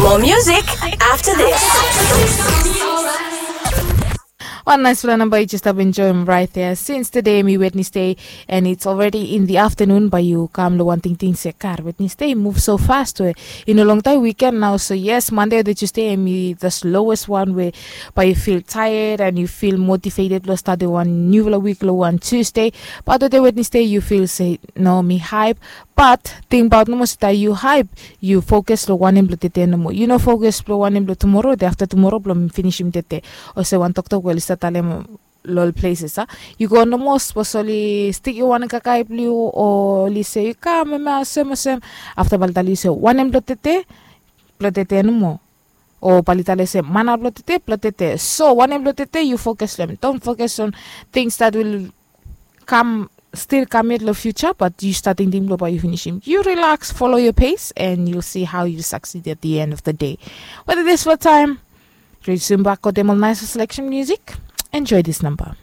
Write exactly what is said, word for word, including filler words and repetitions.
More music after this. Wan naispela namba yu jes stap enjoim rait ya. Sins tede mi Wednesday and it's already in the afternoon, bae yu kam long wan tingting se, "God, Wednesday move so fast we i no longtaem weekend nao." So yes, Monday o Tuesday em i the slowest one we bae yu feel tired and yu feel motivated long statem wan niufala wik long wan Tuesday. Bat tede Wednesday yu feel se, "No, mi hype." Bat tingbaot nomo se taem yu hype, yu fokus long wanem blong tede nomo. Yu no fokus blong wanem blong tumoro, de afta tumoro blong finisim tede. Olsem wan toktok we oli stap talem long ol places a, yu go nomo sapos oli stikim wan kakae blong yu o oli se yu kam hemia olsem olsem, afta bae oli talem yu se wanem blong tede, blong tede nomo. O bae oli talem se mana blong tede, blong tede. So wanem blong tede yu fokus long em. Don't focus on things that will kam stil kam yet long future, bat yu stap tingting blong bae yu finisim. Yu relax, follow your pace and you'll see how you succeed at the end of the day. Weda dispela taem, ri soon bak wetem ol nais selection music. Enjoy this number.